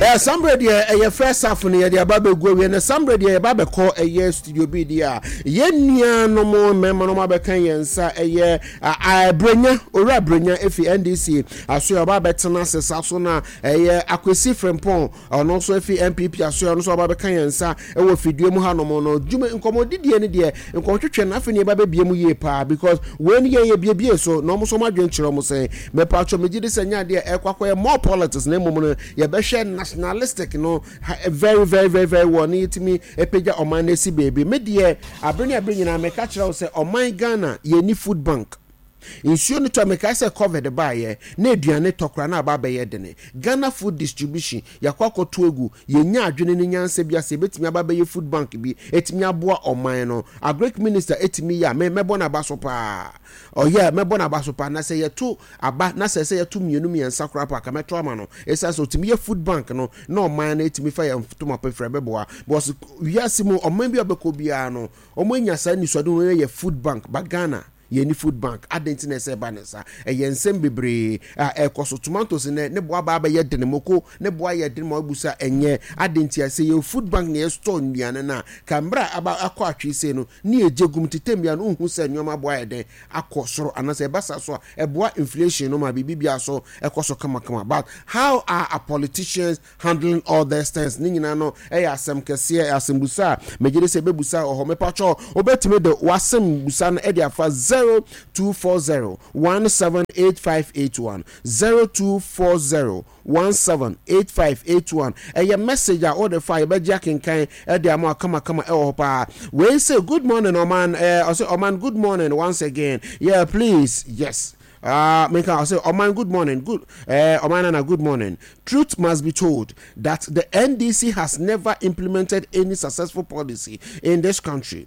Eh, sambre deɛ ɛyɛ first half no yɛde aba bɛgu awie no. Sambre deɛ yɛba bɛkɔ ɛyɛ studio bi deɛ a yɛn nuanom mmarima no abɛka yɛn nsa, ɛyɛ Brenya, Owura Brenya efi NDC aso yɛ ɔba abɛtena ase saa so, na ɛyɛ Akwesi Frimpong, ɔno nso efi NPP aso yɛ ɔno nso ɔba bɛka yɛn nsa ɛwɔ fidie mu hanom no. Dwuma nkɔmɔdidie no deɛ, nkɔmɔtwetwe no, afei ne yɛba bɛbie mu yie paa, because wei no yɛn yɛ biebie so na ɔmo nso ɔmo adwene kyerɛ ɔmo sɛn. Mɛpa atwa, megye di sɛ nyɛ adeɛ ɛkɔ akɔyɛ more politics, na mmom no yɛbɛhwɛ nationalistic no very very very very well ne yɛtumi apagya ɔman no asi baabi. Me deɛ, abere ne abere nyinaa meka kyerɛ wo sɛ ɔman Ghana yɛni food bank. Nsuo no tɔ, mekae sɛ COVID baeɛ na aduane tɔ koraa na aba abɛyɛ dene. Ghana Food Distribution yɛakɔ akɔto agu. Yɛnya adwene ne nyansa bi ase yɛbɛtumi aba abɛyɛ food bank bi ɛtumi aboa ɔman no. Agric minister ɛtumi yɛ a, me mɛbɔ n'aba so paa. Ɔyɛ a, mɛbɔ n'aba so paa. Na sɛ yɛto aba na sɛ sɛ yɛto mmienu mmiɛnsa koraa po a, ka mɛto ama no, ɛsiane sɛ ɔtumi yɛ food bank no na ɔman no ɛtumi fa yɛn ntoma pɛfiri ɛbɛboa, because wiase mu ɔman bi a ɔbɛkɔ biara no, wɔn anya saa nisuade no yɛ food bank ba. Ghana yɛni food bank, adɛn nti na ɛsɛ ɛba ne nsa? Ɛyɛ nsɛm bebree a ɛkɔ so. Tomatoes nɛ ne boa baa bɛyɛ dene, moko ne boa yɛ dene ma wabusa ɛnyɛ adɛn nti a. Sɛ yɛ food bank na yɛ store nnuane no a, ka mmerɛ a aba akɔ atwe sei no ne yɛgye gum tetem bia no, wohu sɛ nneɛma boa yɛ dɛn akɔ soro, anaasɛ ɛba saa so a ɛboa inflation no ma biribi bia so ɛkɔ so kamakama. But how are our politicians handling all these things? Ne nyinaa no ɛyɛ asɛm kɛseɛ, asɛmbusa a megye de sɛ ɛbɛbusa wɔ hɔ. Mepatwɔ, wobɛtumi de w'asɛm busa no ɛde afa 0240 178581, 0240 178581. Ɛyɛ message a wode fa, yɛbɛgye akenkan ɛde ama kamakama ɛwɔ hɔ paa. Wei sɛ good morning ɔman, ɔsɛ ɔman, good morning once again. Yeah, please, yes. Menka ɔsɛ ɔman, good morning, good ɔman nana, good morning. Truth must be told that the NDC has never implemented any successful policy in this country.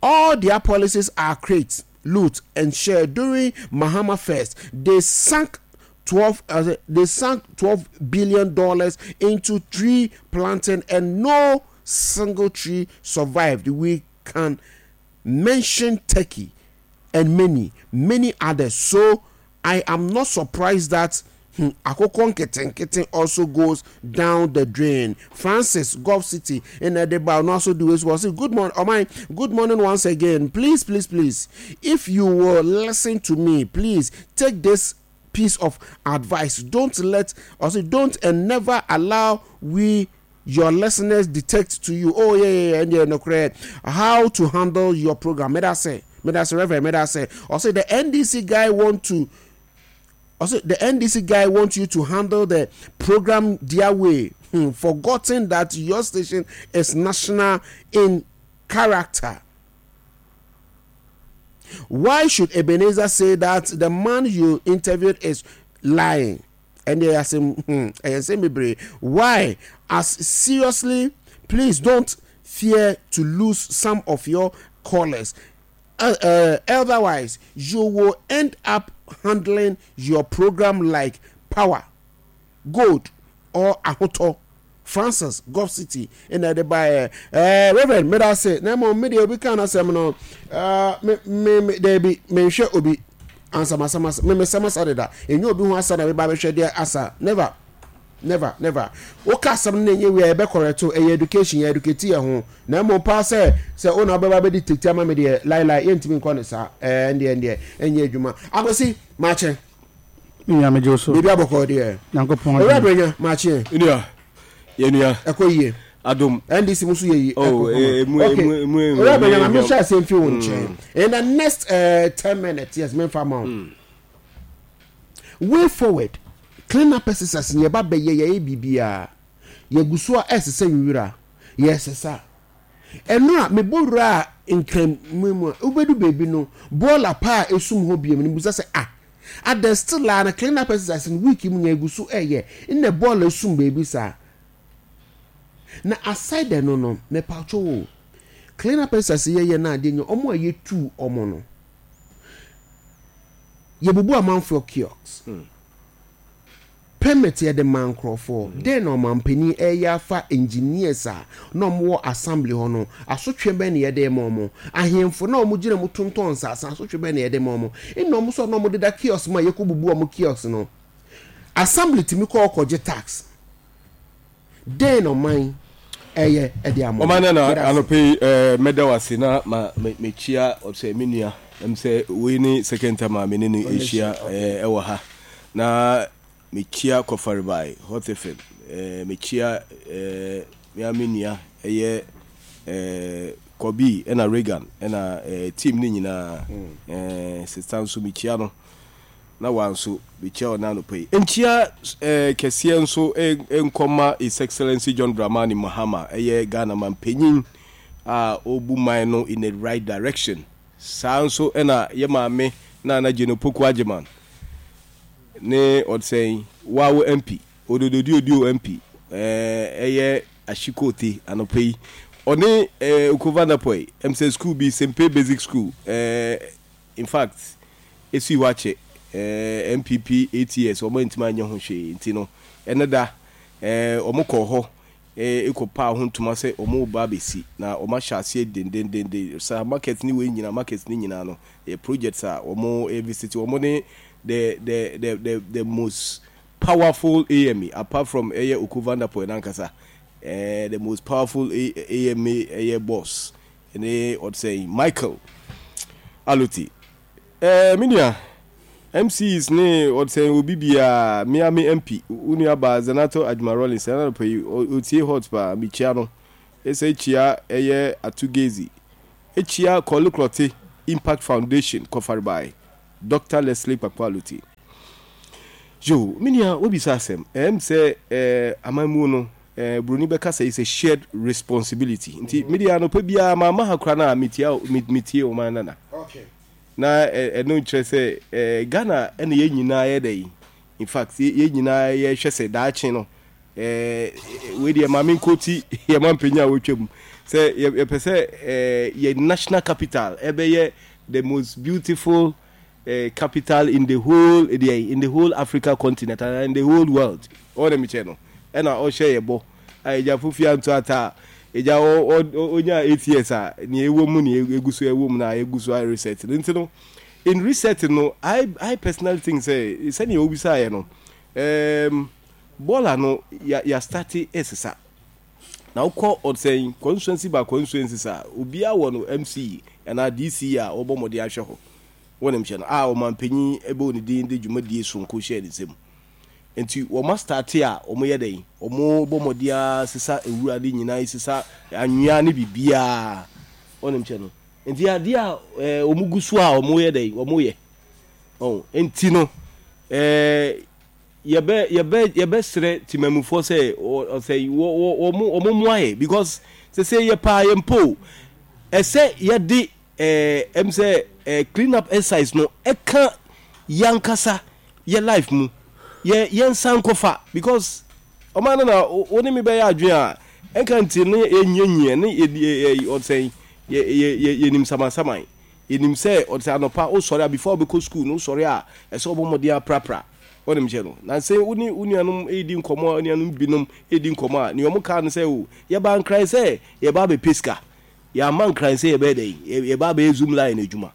All their policies are create, loot and share. During Mahama first, they sank $12 billion into tree planting and no single tree survived. We can mention Turkey and many many others, so I am not surprised that akokɔ nketenkete also goes down the drain. Francis, Gulf City in Edinburgh, no also do as well. Say good morning, oh my, good morning once again. Please, please, please, if you will listen to me, please take this piece of advice. Don't let also don't and never allow we your listeners dictate to you. Oh yeah, and yeah, no correct how to handle your program. May I say, may I say, Reverend, may I say, also the NDC guy want to also the NDC guy wants you to handle the program their way, forgotten that your station is national in character. Why should Ebenezer say that the man you interviewed is lying? And they are saying, and say me, why? As seriously, please don't fear to lose some of your callers. Otherwise, you will end up handling your program like Power, Gold, or Ahoto. Francis, Gulf City, ɛna ɛde baeɛ. Reverend, meda ase. Na mmom me deɛ, obi ka n'asɛm no, me me me daabi, menhwɛ obi ansamasama, me mesɛm asa deda. Ɛnyɛ obi ho asa na meba bɛhwɛ deɛ asa. Never, never, never. Woka asɛm no na ɛnyɛ wia, yɛbɛ correct o. Ɛyɛ education, yɛ educate yɛ ho. Na mmom paa sɛ wo na wobɛba bɛdi tete ama me deɛ, lailai, yɛntumi nkɔ ne saa. Ɛndeɛ ɛnyɛ adwuma. Akwasi, maakye. Nua, megye wo so. Biribi abɔkɔ deɛ. Nyankopɔn. Owura Brenya, maakye. Nua, yɛnua. Ɛkɔ yie. Adom. NDC mu nso yɛ yie. Oh, emu okay. emu emu. Owura Brenya, ma mehyɛ asɛm fi wo nkyɛn. In the next 10 minutes, yes, memfa ma wo. Way forward, clean up exercise ni yɛba bɛyɛ, yɛyɛ biribiara. Yɛgu so a ɛsesa nwura, yɛsesa. Ɛno a mebɔ wura a Nkran mu a, wobɛdu baabi no, bɔɔla paa a esum hɔ biem no, mbusa sɛ, ah, ada still a na clean up exercise no week mu nya egu so ɛyɛ nna bɔɔla esum baabi saa. Na aside ɛno no, mepatwo wo, clean up exercise yɛyɛ no adeɛ nya ɔmo a yɛtu ɔmo no, yɛbubu amanfoɔ kiosks. Permit yɛde ma nkurɔfoɔ. Dɛn na ɔmampanin ɛyɛ afa engineers a na ɔmo wɔ assembly hɔ no? Asotwe bɛn na yɛde ma ɔmo? Ahemfo na ɔmo gyina mu tontɔn nsaase, asotwe bɛn na yɛde ma ɔmo? Ɛna ɔmo nso a na ɔmo deda kiosk mu a yɛkɔ bubu ɔmo kiosk no, assembly tumi kɔ ɔkɔgye tax. Dɛn na ɔman ɛyɛ ɛde ama Ɔman nana anɔpa yi eh, mɛda wo ase na ma mekyia ɔsɛ me nua ɛm sɛ wei ne second time a me ne no ahyia eh, ɛwɔ ha na mekyia Kɔfarebae Hot FM eh, mekyia eh, me a me nua ɛyɛ eh, Kɔbi ɛna Reagan ɛna eh, team ne nyinaa eh, sista nso mekyia no na wa nso mekyia wo anɔpa yi. Nkyia kɛseɛ nso nkɔ ma His Excellency John Dramani Mahama, ɛyɛ Ghana manpanyin a ɔrebu man no in the right direction. Saa nso na yɛ maame Nana Jane Opoku Agyeman ne ɔdsɛn Wawo MP, Odododiodio MP, ɛyɛ Ashikote anɔpa yi. Ɔne Okova Napoi, ɛm sɛ school bi, Sempe Basic School, In fact esii hɔ akyɛ eh, NPP ATS wɔn antumi anyɛ ho hwee nti no ɛno da eh, wɔn kɔɔ hɔ eh, kɔ paa ho ntoma sɛ wɔn reba abɛsi na wɔn ahyɛ aseɛ dendendenden saa market ne wei nyinaa market ne nyinaa no yɛ projects a wɔn eh, visit wɔn ne the the the the the most powerful AMA apart from ɛyɛ Oko Vanderpoel nankasa eh, the most powerful AMA ɛyɛ boss Ne ɔde sɛn Michael Aloti eh, me nua MCs ne ɔde sɛn obi biara me a me MP wo nua baa Zenato Adwuma Rollins ɛna anɔpa yi ɔtie hot paa mekyia no ɛsɛ kyia ɛyɛ Atu Gezi ɛkyia Kɔle Klɔte Impact Foundation Kɔfarebae Doctor Leslie Kpakpo Aloti Yo, me nua wobisa asɛm ɛm sɛ eh, amammuo no Eh, broni bɛka sɛ it's a shared responsibility. Nti me deɛ anɔpa biara mamma ha koraa no a metia metie ɔman nana. Na ɛno nkyerɛ sɛ eh, Ghana ɛna yɛn nyinaa yɛ dɛ yi. In fact, yɛn nyinaa yɛhwɛ sɛ daakye no eh, wei deɛ maame nkoti yɛ ma mpanyin a wɔatwa mu sɛ yɛpɛ sɛ eh, yɛ national capital ɛbɛyɛ the most beautiful eh, capital in the whole deɛ in the whole Africa continent and in the whole world. Ɔwɔ na mekyɛ no ɛna ɔhyɛ yɛ bɔ a ɛgya fofi anto ata a ɛgya ɔnya 8 years a nea ɛwɔ mu nea ɛgu so ɛwɔ mu na ɛgu so a reset no nti no in reset no I personally think sɛ sɛnea obisaeɛ no bɔɔla no ya ya starte ɛsesa na wokɔ ɔsɛn constituency by constituency sa obiara wɔ no MC anaa DC a wɔbɔ mmɔden ahwɛ hɔ. Wonim hyɛ no a ɔmanpanyin bɔɔ ne din de dwumadie soronko hyɛɛ ne nsam. Nti wɔn astate a wɔn yɛ dɛn? Wɔn bɔ mmɔden ara sesa nwura ne nyinaa, sesa anwea ne biribiara. Wonim kyɛ no. Nti adeɛ a ɛɛ wɔn gu so a wɔn yɛ dɛn? Wɔn yɛ. Ɔn nti no ɛɛ yɛbɛ yɛbɛ yɛbɛsrɛ temamufoɔ sɛ ɔsɛ wɔ wɔ wɔn wɔn mmoa yɛ because sese yɛ paa yɛ mpo ɛsɛ yɛde Eh ɛm sɛ eh clean up exercise no ɛka yankasa yɛ life mu yɛ yɛnsan nkɔfa because ɔman no na wo ne me bɛyɛ adwene a ɛnka nti ne yɛnyianyia ne yɛ ɔsɛn yɛ yɛ yɛnim samansaman yɛnim sɛ ɔsɛ anɔpa wosɔre a before wobɛkɔ school no wosɔre a ɛsɛ wobɔ mmɔden aprapra wɔnim kyɛ no na sɛ wo ne wo nuanom redi nkɔmmɔ a nuanom binom redi nkɔmmɔ a nea wɔn kaa no sɛ o yɛba nkran sɛ yɛba abɛpɛ sika Yɛamma nkran sɛ yɛbɛyɛ dɛn? Yɛba abɛyɛ Zoom line adwuma.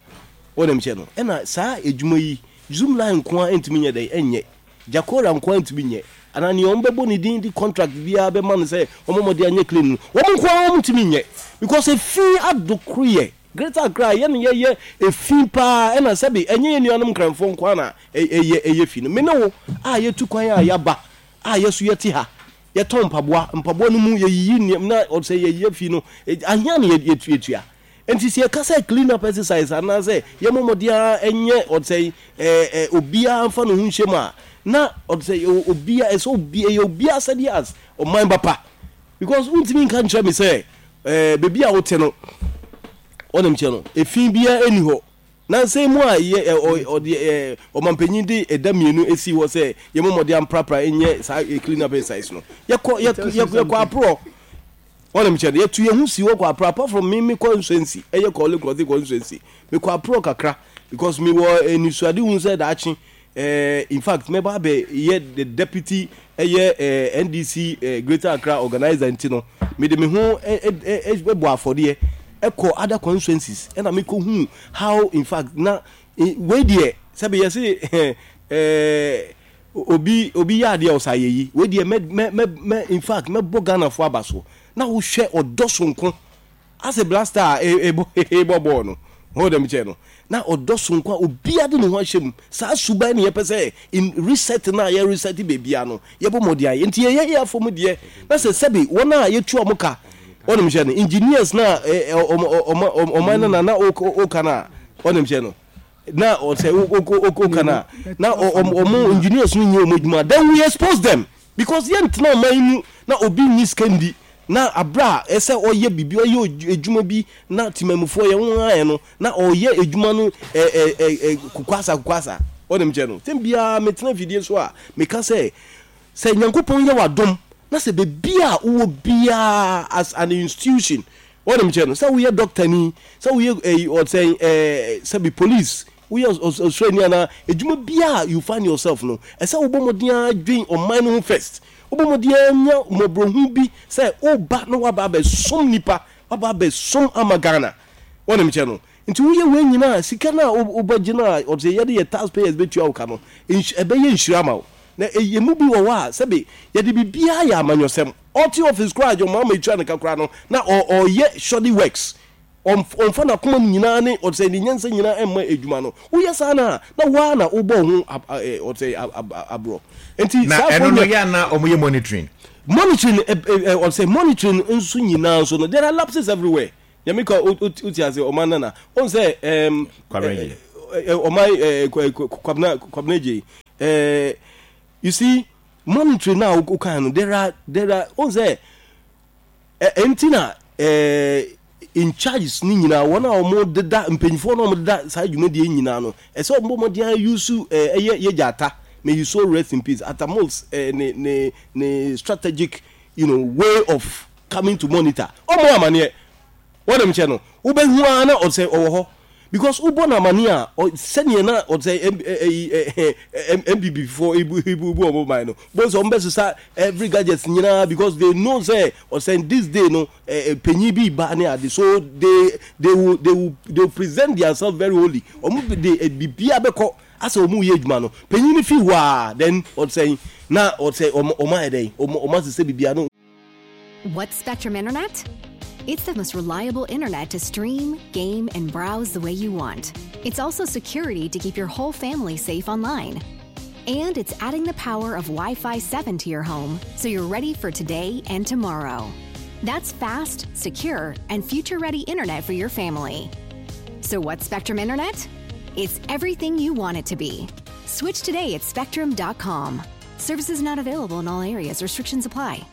Wo na mekyerɛ no. Ɛna saa adwuma yi, Zoom line nko ara ntumi nyɛ dɛn? Ɛnyɛ. Jakora nko ara ntumi nyɛ. Anaa nea wɔbɛbɔ ne din de contract biara bɛma no sɛ wɔmmɔ mmɔden anyɛ clean no, wɔn nko ara wɔntumi nyɛ. Because efi adokoroyɛ. Greater Accra, yɛn na yɛyɛ efi paa. Ɛna sɛbe ɛnyɛ yɛn nuanom Nkranfoɔ nko ara na ɛyɛ ɛyɛ fi no. Me ne wo a yɛtu kwan a yɛaba a yɛn nso yɛte ha, Yɛtɔn mpaboa, mpaboa no mu yɛyiyi nneɛma na sɛ yɛyɛ fi no, ahia na yɛtua. Nti sɛ yɛka sɛ clean up exercise anaasɛ yɛmmɔ mmɔden ara nyɛ ɔsɛ ɛɛ obiara mfa ne ho nhyɛ mu a, na ɔsɛ obiara ɛsɛ obi ɛyɛ obiara sɛdeɛ as ɔman ba pa. Because wontumi nka nkyerɛ me sɛ ɛɛ beebi a wote no, ɔnim kyɛ no, efi biara nni hɔ. Nnansa yi mu a yɛ ɛ ɔ ɔde ɛ ɔmanpanyin de ɛda mmienu esii hɔ sɛ yɛmmɔ mmɔden amprapra nyɛ saa ɛ clean up exercise no, yɛkɔ yɛ It tells you yɛ yɛkɔ something. aporɔ. Wɔn kyerɛ no, yɛtu yɛn ho si hɔ kɔ aporɔ apart from me mekɔ nsuansi ɛyɛ kɔɔle kɔɔte kɔ nsuansi mekɔ aporɔ kakra because mewɔ anisoadehu sɛ daakye eh, in fact mɛba abɛ yɛ the deputy ɛyɛ eh, NDC eh, Greater Accra organizer nti no mede me ho eh, eh, eh, eh, bɔ afɔdeɛ ɛkɔ other constituencies ɛna mekɔ hu how in fact na eh, wei deɛ sɛbi yɛse eh, eh, Obi obi yɛ adeɛ a ɔsɛ ayɛyi. Wei deɛ mɛ mɛ mɛ mɛ in fact mɛbɔ Ghanafoɔ aba so. Na wohwɛ ɔdɔ sonko asɛ Black Star a ɛbɔ ɛbɔ bɔɔl no. Ho dɛm kyɛ no. Na ɔdɔ sonko a obiara de ne ho ahyɛ mu. Saa suban na yɛpɛ sɛ in reset no a yɛ reset baabiara no yɛbɔ mmɔden ayɛ. Nti yɛyɛ yɛn afam deɛ na sɛ sɛbe wɔn a yɛtua wɔn ka wɔnim kyɛ no engineers no a ɔman no na na woka no a wɔnim kyɛ no. Na ɔsɛ woka no a na ɔmo engineers no nyɛ ɔmo adwuma then we expose them because yɛntena ɔman yi mu na obi nyi sika ndi na abere a ɛsɛ ɔyɛ biribi ɔyɛ adwuma bi na temamufoɔ yɛn ho ayɛ no na ɔyɛ adwuma no ɛ ɛ ɛ ɛ kokwasa kokwasa ɔnim kyɛ no tɛm biara metena fidie so a meka sɛ sɛ Nyankopɔn yɛ w'adom na sɛ baabi a wowɔ biara as an institution Wonim kyerɛ no sɛ woyɛ doctor ni, sɛ woyɛ ɛyi ɔsɛn ɛɛ sɛbi police, woyɛ ɔsraani anaa adwuma biara a you find yourself no, ɛsɛ wobɔ mmɔden ara dwen ɔman no ho first. Wobɔ mmɔden ara nya mmɔborɔhunu bi sɛ woba na woaba abɛsom nipa, woaba abɛsom ama Ghana. Wonim kyerɛ no. Nti woyɛ wei nyinaa a, sika no a wobɛgye no a ɔsɛ yɛde yɛ tax payers bɛtua wo ka no, ɛbɛyɛ nhyira ama wo. Na yɛn mu bi wɔ hɔ a, sɛbe yɛde biribiara yɛ amanyɔsɛm. Ɔte office koraa a John Mahama etua ne ka koraa no, na ɔreyɛ shoddy works. Ɔmfa n'akoma mu nyinaa ne ɔsɛ ne nyansa nyinaa mma adwuma no. Woyɛ saa no a, na wo ara na wobɔ wo ho ɔsɛ aborɔ. Nti Na saa ɛno foɔ no nyɛ. yɛ a na wɔyɛ monitoring? Monitoring ɔsɛ monitoring nso nyinaa nso no, there are lapses everywhere. Nyame ka wote ase ɔman nana. Wohu sɛ ɛɛm Kwabena Gyei. Ɔman Kwabena Kwabena Gyei. Eh, you see, monetary na wo kan no, there are there are wohu sɛ ɛnti na eh, in charges ne nyinaa wɔn a wɔn deda mpanyinfoɔ na wɔn deda saa dwumadie nyinaa no ɛsɛ wɔn bɔ mmɔden ayusu ɛyɛ yɛgya ata may you so rest in peace ata mills eh, ne ne ne strategic you know way of coming to monitor ɔmo amaneɛ wɔnim kyɛ no wobɛhu ara na ɔsɛ ɔwɔ hɔ because wobɔ no amaneɛ a sɛdeɛ na ɔsɛ ɛyi NPP foɔ ibu ibu ibu ɔmo man no bohu sɛ ɔmo bɛsesa every gadget nyinaa because they know sɛ ɔsɛ this day no panyin bi ba ne ade so they they will they will they will present themselves very holy ɔmo de biribiara bɛkɔ asɛ ɔmo yɛ adwuma no panyin no fi hɔ a then ɔsɛ na ɔsɛ ɔmo ɔmo ayɛ dɛn ɔmo ɔmo asesɛ biribiara no. What's Spectrum Internet? It's the most reliable internet to stream, game, and browse the way you want. It's also security to keep your whole family safe online. And it's adding the power of Wi Fi 7 to your home so you're ready for today and tomorrow. That's fast, secure, and future ready internet for your family. So, what's Spectrum Internet? It's everything you want it to be. Switch today at spectrum.com. Services not available in all areas, restrictions apply.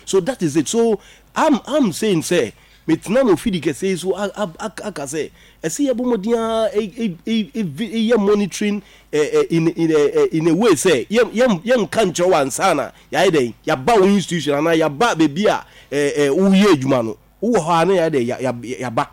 So that is it. So I'm I'm saying sɛ metena no ofidi kɛseɛ yi so aka sɛ ɛsɛ yɛbɔ mmɔden ara yɛ monitoring in in in a way sɛ yɛn yɛnka nkyerɛ wo ansa na yɛayɛ dɛn yɛaba wo institution anaa yɛaba baabi a woyɛ adwuma no. Wowɔ hɔ a na yɛayɛ dɛ yɛaba.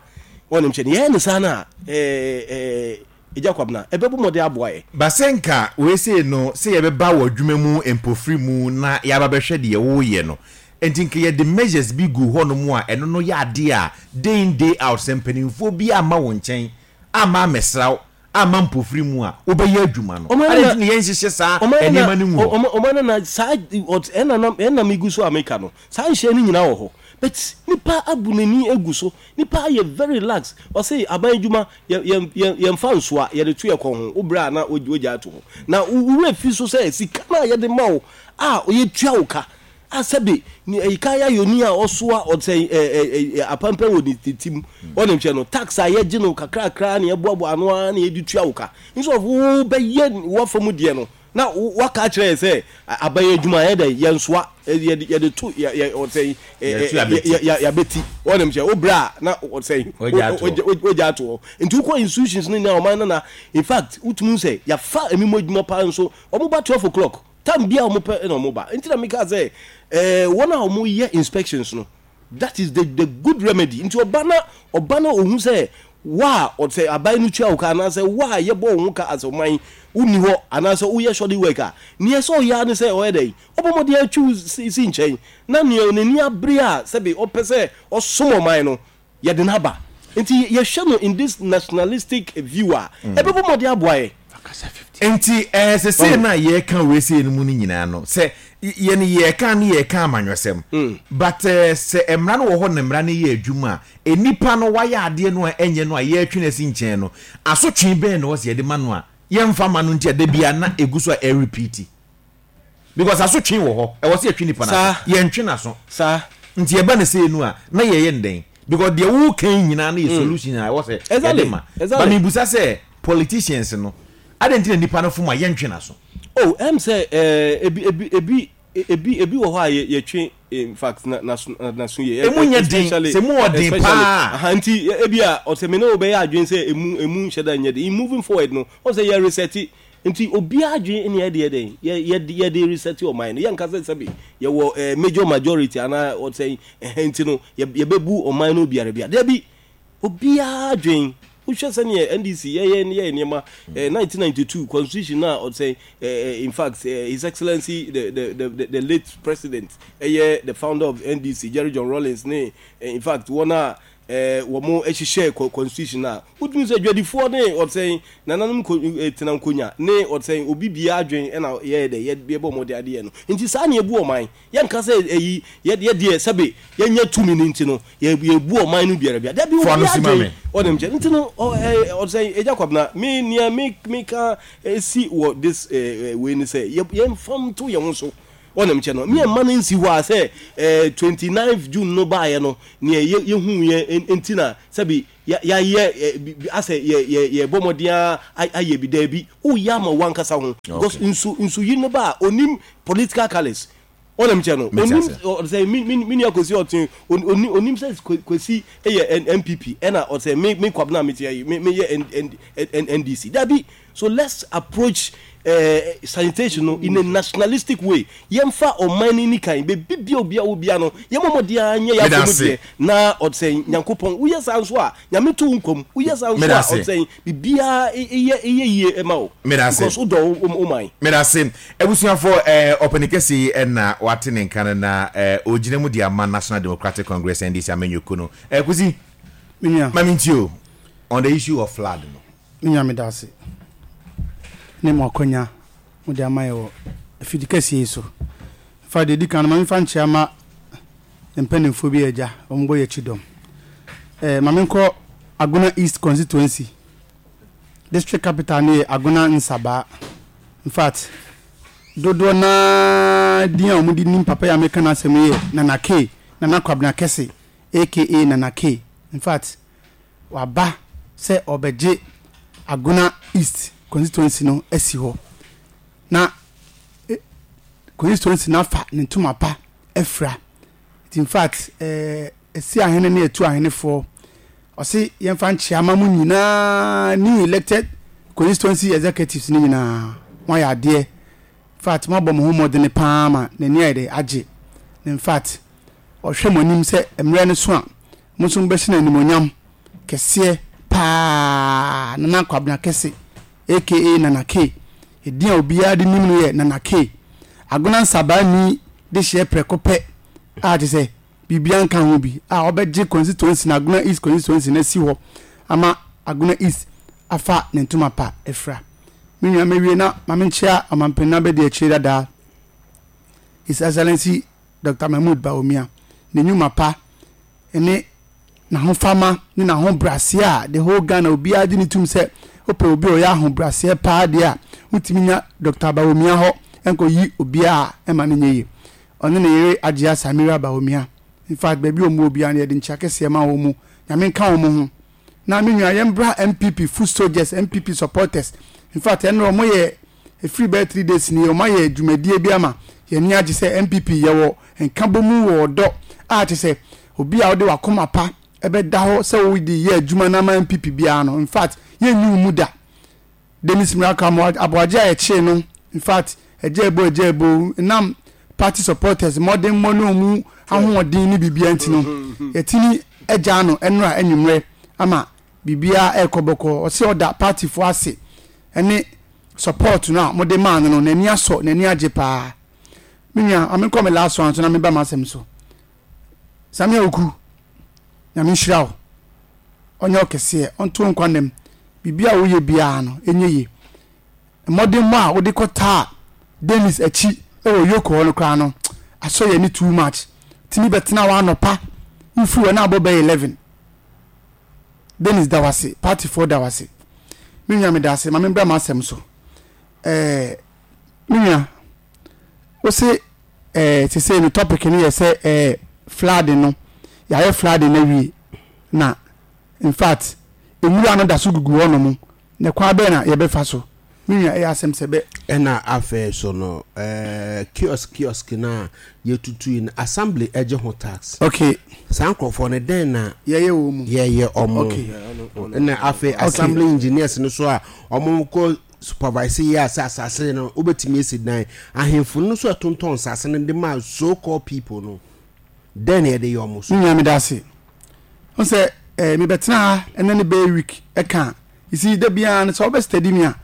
Wɔnim kyɛ no yɛyɛ no saa no a Agya Kwabena ɛbɛbɔ mmɔden aboa yɛ. Ba sɛ nka wei sei no sɛ yɛbɛba w'adwuma mu mpofiri mu na yɛaba bɛhwɛ deɛ woreyɛ no nti nka yɛde measures bi gu hɔ nom a ɛno no yɛ adeɛ a day in day out sɛ mpanimfoɔ bi amma wo nkyɛn amma ammɛsra wo amma mpofiri mu a wobɛyɛ adwuma no. Ɔman Adɛn na nti na yɛnhyehyɛ saa ɔman na nneɛma no ngu hɔ? ɔman na saa ɛna na ɛna megu so a meka no saa nhyɛ no nyinaa wɔ hɔ but nipa abu n'ani agu so nipa ayɛ very relax ɔse aban adwuma yɛ yɛ yɛ yɛmfa nsoa yɛde to yɛ kɔn ho wo brɛ a na wogya ato hɔ na wo werɛ fi so sɛ sika no a yɛde ma wo a yɛtua wo ka A sɛbe ne ɛyi ayɔni a ɔsoa ɔsɛn ɛ ɛ ɛ apampan wɔ ne ti mu ɔnim kyɛ no tax a yɛgye no kakrakra na yɛboaboa ano ara na yɛde tua wo ka nso wo bɛyɛ wafa mu deɛ no na waka akyerɛ yɛ sɛ aban adwuma yɛ dɛ yɛnsoa yɛde yɛde to yɛ yɛ ɔsɛn ɛ yɛabɛti ɔnim kyɛ wo brɛ a na ɔsɛn wogya ato hɔ nti wokɔ institutions no nyinaa ɔman no na in fact wotumi sɛ yɛafa emi mu adwuma paa nso wɔn ba 12 o'clock Time biara a wɔn pɛ na wɔn ba. Nti na meka sɛ eh, wɔn a wɔn yɛ inspections no, that is the the good remedy. Nti ɔba na ɔba na ohu sɛ wa a ɔsɛ aban no tua wo ka anaasɛ wa a yɛbɔ wo ho ka as ɔman wonni hɔ anaasɛ woyɛ shoddy work a, nea ɛsɛ ɔyɛ ara ne sɛ ɔyɛ dɛn? Ɔbɔ mmɔden atwi wo si si nkyɛn na nea n'ani abere a sɛbe ɔpɛ sɛ ɔsom ɔman no, yɛde no aba. Nti yɛhwɛ no in this nationalistic view a, ɛbɛbɔ mmɔden aboa yɛn. Nti ɛɛ sesei no a yɛreka wei sei no mu no nyinaa no, sɛ yɛn yɛreka no yɛreka amanyɔsɛm, but ɛɛ sɛ mmara no wɔ hɔ na mmara no yɛ adwuma a, nnipa no wayɛ adeɛ no a ɛnyɛ no a yɛretwe no asi nkyɛn no, asotwe bɛn na ɛwɔ sɛ yɛde ma no a yɛmfa ma no nti a da biara na ɛgu so a ɛrepeati? Because asotwe wɔ hɔ, ɛwɔ sɛ yɛtwe nipa no aso, yɛntwe n'aso. Saa. Nti ɛba no sei no a, na yɛyɛ no dɛn? Because deɛ woka yi nyinaa no yɛ solution a ɛwɔ sɛ yɛde ma. But mebusa sɛ, politicians no, adɛn nti na nipa no fom a yɛntwe n'aso? Oh, ɛm sɛ eh, ebi, ebi, ebi, ebi, ebi wɔ hɔ a yɛ, yɛtwe, in fact, na, n'aso, n'aso yie. Emu nyɛ den, sɛ emu wɔ den paa a. Aha, nti ebi a, ɔsɛ me ne wo bɛyɛ adwene sɛ emu, emu nhyɛ da nyɛ den. In moving forward no, ɔsɛ yɛ resɛte. Nti obiara adwene ne yɛde yɛ dɛn? Yɛ, yɛde, yɛde resɛte ɔman no. Yɛnka sɛ sɛbe yɛwɔ eh, major majority anaa ɔsɛn, ɛhɛn nti no, yɛ, yɛbɛbu ɔman no obiara bia. Dabi! Obiara adwene. Wohwɛ sɛdeɛ NDC yɛyɛ yɛyɛ nneɛma, eh, 1992 constitution no a ɔsɛn, eh, eh, in fact, eh, His Excellency the, the, the, the, the late president, ɛyɛ the founder of NDC, Jerry John Rawlings ne, eh, in fact, wɔn a eh, wɔn hyehyɛɛ constitution no a, wotumi sɛ dwadifoɔ ne ɔsɛn nananom nko, eh, tena nkonya ne ɔsɛn obi biara adwen ɛna yɛyɛ dɛ yɛbɔ mmɔden adeɛ no. Nti saa na yɛbu ɔman. Yɛnka sɛ ɛyi yɛ yɛ deɛ sɛbe yɛnya tumi no nti no yɛ yɛbu ɔman no biara bia. Dabi Fa obi no si ma adwen me. ɔnim kyɛ nti no ɔ ɛ ɔsɛn Agya Kwabena me nea me meka si wɔ this ɛ ɛ wei ne sɛ yɛ yɛmfa nto yɛn ho so. Ɔnim kyɛ no, me mma no nsi hɔ a sɛ eh, 29th June no baeɛ no, neɛ yɛ, yɛhuuiɛ nti na sɛbi yɛayɛ eh, asɛ yɛ, yɛ, yɛbɔ mmɔden ara ayɛ bi. Daabi, woyɛ ama w'ankasa ho. Because nsu, nsuyiri no ba a, ɔnim political colours. Ɔnim kyɛ no, ɔnim sɛ me, me, me nua Kwesi ɔte, ɔnim sɛ Kwesi yɛ NPP, ɛna ɔsɛ me, me Kwabena meteɛ yi, me, meyɛ NDC. Daabi. So let's approach eh, sanitation no in a nationalistic way. Yɛmfa ɔman no ni kan. Baabi bia obi a wɔ bia no, yɛmmɔ mmɔden ara nyɛ yɛn afɔm deɛ na ɔsɛn Nyankopɔn. Woyɛ saa nso a, Nyame to wo nkwa mu. Woyɛ saa nso a, ɔsɛn biribiara yɛ yɛ yie ma wo. Because wodɔ wo man. Medase. Abusuafoɔ, eh, ɔpanin kɛseɛ yi na wate ne nka no na eh, ɔgyina mu de ama National Democratic Congress, NDC, amanyɔkuo no. Eh, Kwesi, ma mentie o, on the issue of flood no. Me nua meda ase ne mo akwanya mode ama yɛ wɔ afidi kɛseɛ yi so. Mfa deɛ ɛdi kan no ma memfa nkyea ma mpanimfoɔ bi a agya wɔn bɔ yɛ akyi dɔm. Eh, ma menkɔ Agona East constituency. District capital no yɛ Agona Nsabaa. In fact, dodoɔ naa din a wɔde nim papa yi a meka n'asɛm yi yɛ Nana K, Nana Kwabena Kɛse aka Nana K. In fact, waba sɛ ɔrebɛgye Agona East constituency no asi hɔ na constituency no afa ne ntoma pa afira. Nti in fact eh, ɛsi ahene ne ɛtu ahenefoɔ ɔse yɛmfa nkyea ma mo nyinaa new elected constituency executives no nyinaa moayɛ adeɛ. In fact moabɔ mo ho mmɔdene paa ma n'ani ayɛ dɛ agye. In fact ɔhwɛ mo anim sɛ mmerɛ no so a Mo nso mobɛhyɛ no animuonyam kɛseɛ paa Nana Kwabena Kɛse aka Nana K. Edin a obiara de nim no yɛ Nana K. Agona Nsabaa ni dehyeɛ prɛko pɛ a kyerɛ sɛ biribiara nka ho bi a ɔbɛgye constituency no Agona East constituency no asi hɔ ama Agona East afa ne ntoma pa afira. Me nua mɛwie na ma menkyea Ɔmanpanin Abadiakyire dadaa His Excellency Doctor Mahmood Bawumia ne nnwuma pa ne n'ahofama ne n'ahobraseɛ a the whole Ghana obiara gye ne tum sɛ wopɛ obi a ɔyɛ ahobraseɛ paa deɛ a wotumi nya Doctor Bawumia hɔ nkɔyi obiara a ɛma no nyɛ yie. Ɔne ne yere Agyea Samira Bawumia. In fact baabi a wɔn wɔ biara no yɛde nkyea kɛseɛ ma wɔn mu. Nyame nka wɔn ho. Na me nua yɛn bra NPP foot soldiers, NPP supporters. In fact ɛnora wɔn yɛ Ɛfiri bɛyɛ three days nie wɔn ayɛ dwumadie bi ama yɛn ani agye sɛ NPP yɛwɔ nkabomu wɔ ɔdɔ a kyerɛ sɛ obi a wode wakoma pa ɛbɛda hɔ sɛ wode yɛ adwuma no ama NPP biara no infact yɛnyi wo mu da. Dennis Miracle Aboagye a yɛkyee no infact agya ebo agya ebo nam party supporters mmɔdenmmɔ ne wɔn ahoɔden ne biribiara nti no yɛtumi agyaa no ɛnora anwummerɛ ama biribiara ɛrekɔ bɔkɔɔ. Ɔse ɔda party foɔ ase ɛne support no a mode maa no no n'ani asɔ n'ani agye paa me nua ma menkɔ me last one so na meba m'asɛm so Samia Oku nyame nhyira wo ɔnyɛ ɔkɛseɛ ɔnto nkwa nam biribi a woyɛ biara no ɛnyɛ yie. Mmɔdemmɔ a wode kɔtaa Dennis akyi wɔ Yoko hɔ no koraa no, asɔ yɛn ani too much. Tumi bɛtena hɔ anɔpa, wofiri hɔ na abɔ bɛyɛ 11. Dennis da wo ase, partyfoɔ da wo ase. Me nua meda ase, ma membra m'asɛm so. Ɛɛ, me nua, wo se ɛɛ sesei no topic no yɛ sɛ ɛɛ flooding no, yɛayɛ flooding no awie na in fact nwura no da so gugu hɔnom Na kwan bɛn na yɛbɛfa so? Me nua, ɛyɛ asɛm sɛ bɛ. Ɛna afei so no, ɛɛ kiosk kiosk no a yɛtutui no, assembly gye ho tax. Okay. Saa nkurɔfoɔ no, dɛn na yɛyɛ wɔn mu? Yɛyɛ wɔn. Okay. Ɛna afei assembly engineers no so a wɔn kɔ supervise yɛ a sɛ asase no wobɛtumi asi dan. Ahemfo no nso ɛtontɔn nsase no de ma so called people no. Dɛn na yɛde yɛ wɔn so? Me nua meda ase. Wohu sɛ eh, mebɛtena ha ɛnɛ ne bɛyɛ week ɛka a, you see, da biara no sɛ wobɛ steady me a,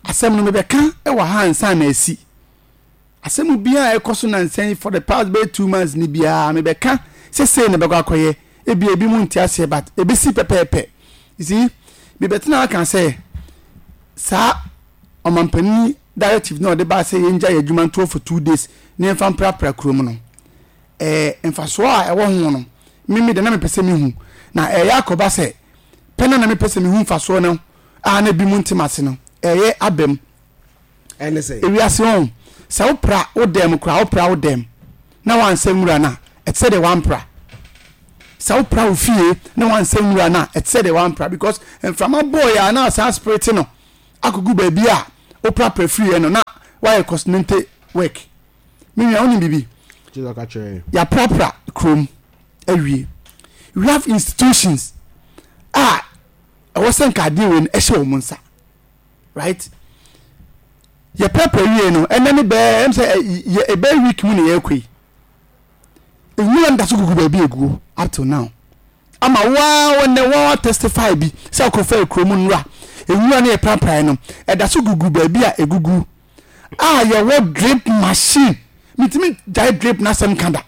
asɛm no mebɛka wɔ ha ansa na asi. Asɛm biara a ɛkɔ so nansa yi for the past bɛyɛ 2 months ni biara mebɛka sɛ sei na ɛbɛkɔ akɔyɛ. Ebia ebi mu nte aseɛ but ɛbɛsi pɛpɛɛpɛ. You see, mebɛtena ha ka sɛ saa ɔmampanin directive na ɔde baa sɛ yɛngya yɛ adwuma ntoɔ for 2 days na yɛmfa mprapra kurom no. Ɛɛ, mfasoɔ a ɛwɔ ho no, me me deɛ na mepɛ sɛ mehu. Na ɛreyɛ akɔba sɛ, pɛ no a na mepɛ sɛ mehu mfasoɔ no a na ebinom nte m'ase no, ɛreyɛ aba mu. Ɛne sɛ? Ewiase ɔn, sɛ wopra wo dan mu koraa, wopra wo dan mu na woansɛ nwura no a, ɛte sɛ deɛ woampra. Sɛ wopra wo fie na woansɛ nwura no a, ɛte sɛ deɛ woampra because mframa bɔɔeɛ a na asan spirit no akɔgu baabi a woprapra firiiɛ no na woayɛ cosmente work. Me nua, wonim biribi? Yɛaprapra kurom awie. We have institutions a ɛwɔ sɛ nka adeɛ wei no ɛhyɛ wɔn nsa. Right? Yɛprapra wie no, ɛnɛ ne bɛɛ ɛm sɛ yɛ ɛbɛyɛ week mu na yɛrekɔ yi. Nwura no da so gugu baabi eguo up till now. Ama waa wɔn waa testify bi sɛ ɔkɔfa kurom nwura. Nwura no yɛpraprae no, ɛda so gugu baabi a egugu. a yɛwɔ drip machine metumi gyae drip n'asɛm ka da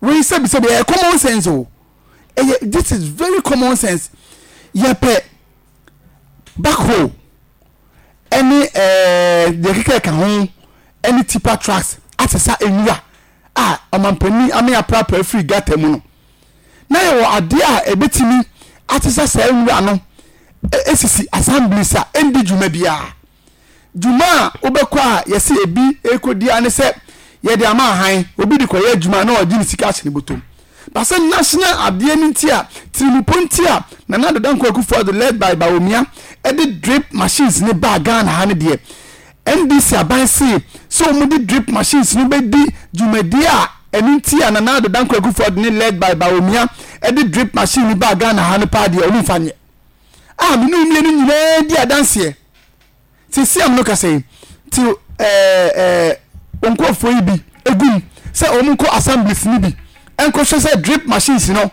wei sɛbisɛbi ɛyɛ common sense o ɛyɛ this is very common sense yɛpɛ backhoe ɛne ɛɛ deɛ keka ɛka ho ɛne tipa trucks asesa nwura a ɔmampanin ame aprapra afiri gata mu no na yɛwɔ adeɛ a ɛbɛtumi asesa saa nwura no esisi assemblies a ɛndi dwuma biara. Dwuma a wobɛkɔ a yɛse ebi rekɔdi ara ne sɛ yɛde ama ahan, obi de kɔyɛ adwuma na ɔgye ne sika ahyɛ ne bɔtɔm. But sɛ national adeɛ no nti a, tirimupɔ nti a Nana Addo Dankwa Akufo-Addo led by Bawumia de drip machines no baa Ghana ha no deɛ, NDC aban se sɛ wɔde drip machines no bɛdi dwumadie a ɛno nti a Nana Addo Dankwa Akufo-Addo ne led by Bawumia de drip machine no baa Ghana ha no paa deɛ wɔmfa nyɛ. A me ne wo mmienu nyinaa di adanseɛ. Seesei a me ne wo kasa yi, te ɛɛ ɛɛ wo nkurɔfoɔ yi bi gu mu sɛ wɔn nkɔ assemblies no bi nkɔhwɛ sɛ drip machines no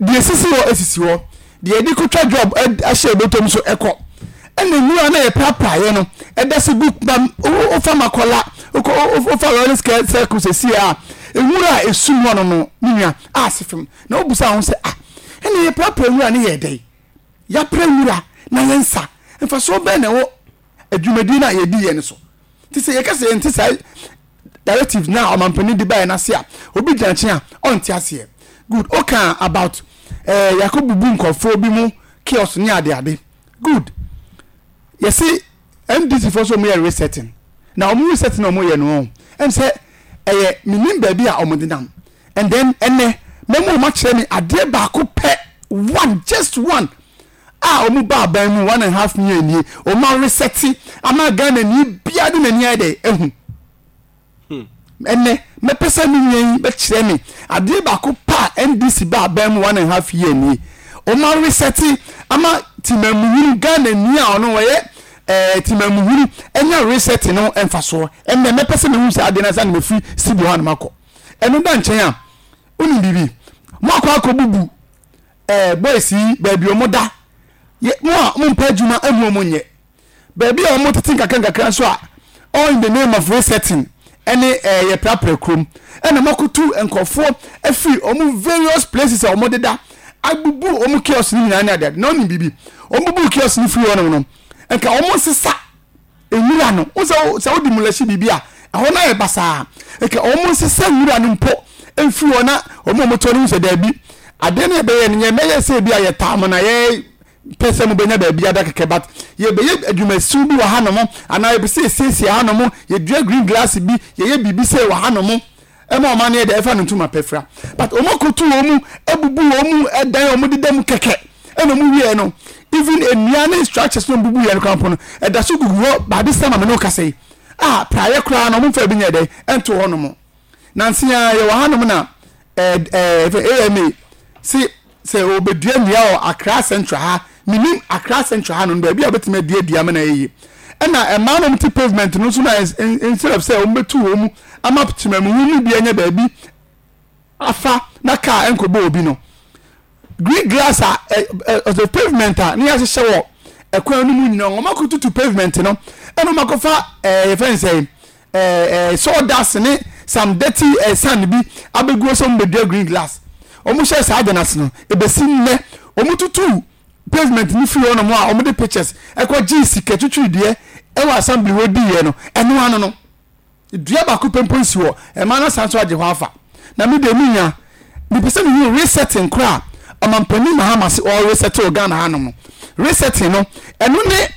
deɛ esisi hɔ esisi hɔ, deɛ yɛde kɔtwa job ahyɛ ebotom nso ɛkɔ. Ɛna nwura no a yɛprapraeɛ no ɛda so gu ba wofa Makola wokɔ wofa Lawrence Circle seesei a nwura a esum hɔ no no me nua a ase fam na wobusa ho sɛ ah ɛna yɛprapra nwura no yɛ dɛn? Yɛapra nwura na yɛnsa. Mfasoɔ bɛn na ɛwɔ adwumadie no a yɛdiiɛ no so? Nti sɛ yɛka sɛ yɛnte saa directive no a ɔmampanin de baeɛ no ase a, obi gyina nkyɛn a ɔnte aseɛ. Good. Wokaa about eh, yɛakɔbubu nkurɔfoɔ bi mu kiosk ne adeade. Good. Yɛse NDC foɔ sɛ wɔyɛ resetting. Na wɔn resetting na wɔyɛ no, ɛm sɛ ɛyɛ menim baabi a wɔde nam. And then ɛnɛ mɛma wɔn akyerɛ me adeɛ baako pɛ, one, just one, a wɔn ba aban mu 1.5 year nie, wɔn aresɛte ama Ghana ni biara de n'ani ayɛ dɛ ehu. Ɛnɛ mɛpɛ sɛ me nua yi bɛkyerɛ me adeɛ baako pɛ a NDC ba aban mu 1.5 year nie, wɔn aresɛte ama timamuhunu Ghana ni a ɔno ɔyɛ ɛɛ timamuhunu ɛnya resɛte no mfasoɔ. Ɛnɛ mɛpɛ sɛ mehu saa adeɛ no ansa na mefiri studio hɔ anam akɔ. Ɛno da nkyɛn a, wonim biribi? Moakɔ akɔbubu ɛɛ boys yi baabi wɔn da. Yɛ mo a mompɛ adwuma ɛmu wɔn nyɛ. Baabi a wɔn tete nkakra nkakra nso a, all in the name of resetting ɛne ɛɛ yɛprapra kurom. Ɛna moakɔtu nkurɔfoɔ afiri wɔn various places a wɔn deda abubu wɔn kiosk no nyinaa ne adeade. Na wonim biribi? Wɔn bubu kiosk no firi hɔnom no, nka wɔn nsesa. Nwura no, wohu sɛ sɛ wode mulahyi biribi a, ɛhɔ no ayɛ basaa. Nka wɔn nsesa nwura no mpo mfiri hɔ na wɔn a wɔtɔ no hu sɛ daabi, adeɛ no yɛbɛyɛ no yɛmmɛyɛ sɛ ebi a yɛtaa mo na yɛpɛ sɛ mobɛnya baabi ada kɛkɛ but yɛbɛyɛ adwumasiw bi wɔ hanom anaa yɛpɛ sɛ yɛsiesie hanom, yɛdua green grass bi, yɛyɛ biribi sei wɔ hanom. Ɛma ɔman no yɛ dɛ ɛfa no ntoma pɛ fira but wɔn akoto wɔn mu abubu wɔn mu ɛdan wɔn deda mu kɛkɛ ɛna wɔn wieɛ no even nnua ne structures no bubu yɛ no koraa mpo no ɛda so gugu hɔ baade sɛ maame no kasa yi a praeɛ koraa no wɔn mfa bi nyɛ dɛ ɛnto hɔ nom nansi a yɛwɔ ha nom na ɛɛ ɛɛ AMA si Sɛ wɔbɛdua nnua wɔ Accra Central ha, mennim Accra Central ha no, baabi a wɔbɛtumi adua dua ma no ayɛ yie. Ɛna mmaa no a wɔte pavement no nso na instead of sɛ wɔbɛtu wɔn mu ama temamuhu no bi anya baabi afa na kaa nkɔbɔ obi no, green grass a ɔsɛ pavement a ne yɛahyehyɛ wɔ ɛkwan no mu nyinaa wɔn akɔtutu pavement no ɛna wɔn akɔfa ɛɛ yɛfrɛ no sɛ ɛɛ eh, sawdust ne some dirty eh, sand bi abɛgu hɔ sɛ wɔn bɛdua green glass wɔn hyɛ saa ade no ase no ebesi nnɛ wɔn tutu pavement no firi hɔ nom a wɔn de pictures ɛkɔ gye sika twitwiri deɛ ɛwɔ assembly hɔ di yɛ no ɛno ano no dua baako pɛ mpo nsi hɔ ɛmaa no asan so agye hɔ afa na mi deɛ mi nya mepɛ sɛ mehu resetting koraa ɔmampanin Mahama se ɔreset wɔ Ghana hanom no resetting no ɛno ne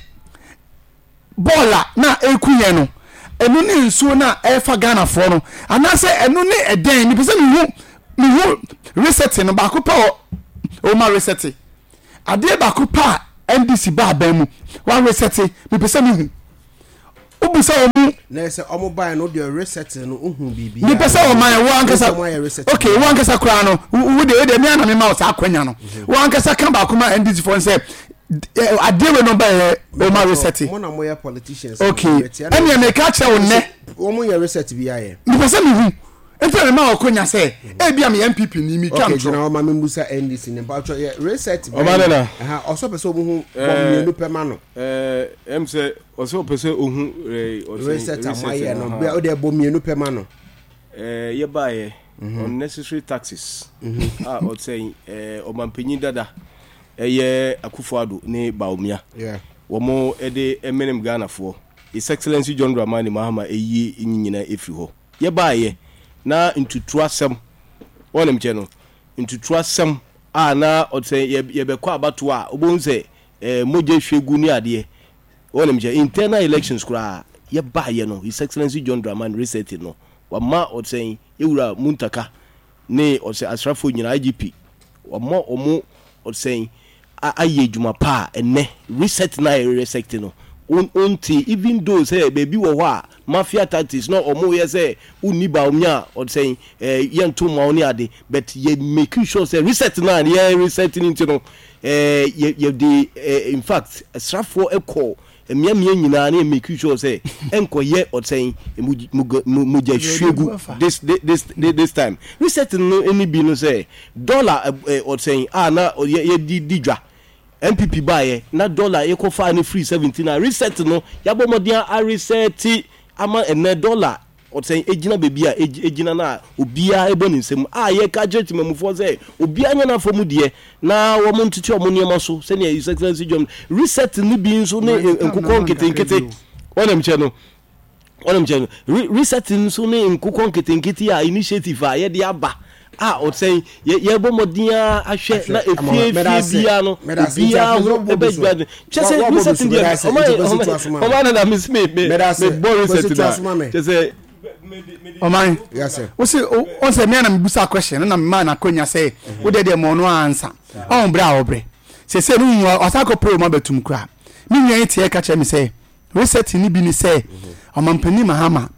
Bɔɔl a na ɛreku yɛn no, ɛno ne nsuo no a ɛrefa Ghanafoɔ no anaasɛ ɛno ne ɛdɛn? Mepɛ sɛ mehu mehu resetting no baako pɛ wɔ ɔma resete adeɛ baako pɛ a NDC ba aban mu wa resete mepɛ sɛ mehu wobisa wɔn mu. Na sɛ wɔn baeɛ no deɛ resetting no wohu biribi. Mepɛ sɛ wɔn ayɛ wo ankasa ok wo ankasa koraa no wo deɛ wo deɛ mi ana mi ma wo saa akwanya no wo ankasa ka baako ma NDC foɔ sɛ adeɛ wei no ba yɛ ɔma reset. Mo na mo yɛ politicians. Ok ɛnna meka kyerɛ wo nnɛ. Wɔn yɛ reset bi ayɛ. Mepɛ sɛ mehu nti na mema ɔkonya sɛ ebi a meyɛ NPP ni metwa Ok ntorɔ. gyina hɔ ma me mbusa NDC ne mpatsɔ yɛ reset bɛn Ɔba nana. ɛha ɔsɛ ɔpɛ sɛ ɔmo hu bɔ mmienu pɛ ma no. Ɛɛ ɛm sɛ ɔsɛ ɔpɛ sɛ ohu ɛɛ ɔsɛ Reset a mo ayɛ no bɛ ɔde bɔ mmienu pɛ ma no. Ɛɛ yɛ baayɛ unnecessary taxes a ɔsɛ ɛɛ ɔmanpanyin dada ɛyɛ Akufo Addo ne Bawumia wɔn de menem Ghanafoɔ. His Excellency John Dramani Mahama ɛyi nyi nyina ɛfiri hɔ. Yɛ baayɛ na ntutu asɛm wɔn kyɛ no ntutu asɛm a na ɔsɛ yɛbɛkɔ abatoɔ a wobɛhu sɛ ɛɛ mogya hwie gu ne adeɛ wɔn kyɛ internal elections koraa yɛ baayɛ no His Excellency John Dramani reset no wama ɔsɛ yɛwura Muntaka ne ɔsɛ asrafoɔ nyinaa IGP Wɔama wɔn ɔsɛn ayɛ adwuma pa a ɛnnɛ reset no a yɛ reset no wonte even though sɛ baabi wɔ hɔ a mafia tactics na wɔn yɛ sɛ wonni Bawumia a ɔsɛn ɛɛ yɛnto mma wo ne ade but yɛ make sure sɛ reset no a yɛ reset no nti no ɛɛ yɛ yɛde ɛɛ in fact asrafoɔ kɔ Mmeammea nyinaa na yɛ make sure sɛ ɛnkɔyɛ ɔsɛn mogya hwiegu this this this time. Research no ne bi no sɛ dollar ɔsɛn a na yɛde di dwa NPP baeɛ na dollar yɛkɔfaa no firi 17 a research no yɛabɔ mmɔden a research ama ɛnɛ dollar Ɔsɛn egyina baabi a egyina no a obiara bɔ ne nsam a yɛka kyerɛ temamufoɔ sɛ obiara nyɛ n'afa mu deɛ na wɔn ntete wɔn nneɛma so sɛnea His Excellency John reset no bi nso ne nkokɔ nketenkete wɔnam kyɛ no wɔnam kyɛ no reset nso ne nkokɔ nketenkete a initiative a yɛde aba a ɔsɛn yɛbɔ mmɔden ara ahwɛ na efie fie biara no obiara ho ɛbɛdwa kyɛ sɛ reset deɛ ɔma ɔma ɔma nana mi si mi mi mi bɔ reset na kyɛ sɛ. ɔman wosi ɔsɛ mmea na mebusa question no na mmaa na akonya sɛ wo deɛ deɛ mɔ no ansa ɔn brɛ a ɔbrɛ sɛsɛ no hu ɔsa akɔ pere ɔma bɛtum kura me nua yi teɛ ka kyerɛ me sɛ reset ni bi ni sɛ ɔmampanin Mahama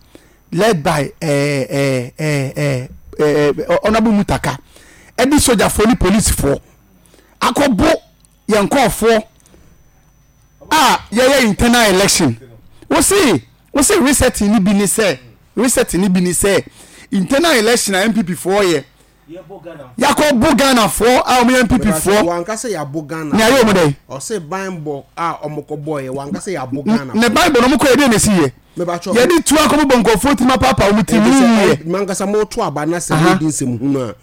led by eh, eh, eh, eh, eh, Honorable Mutaka ɛde sogyafoɔ ne polisifoɔ akɔbo yɛn nkurɔfoɔ a yɛyɛ internal election wosi wosi resetting ni bi ni sɛ resetting ni bi ni sɛ internal election a npp foɔ yɛ yakɔ bo Ghana foɔ a wɔn yɛ npp foɔ wankasa yɛ abo Ghana ní ayé wɔn dɛ. Ɔsɛ ban bɔ a wɔn kɔ bɔ yɛ wankasa yɛ abo Ghana. Ne ban bɔ na wɔn kɔ yɛ de na esi yɛ. Yɛde tu akɔ bɔ nkurɔfoɔ ti ma paapa wɔn ti mu yɛ. Mankasa mo to aba na sɛ mo di nsɛm hunu a.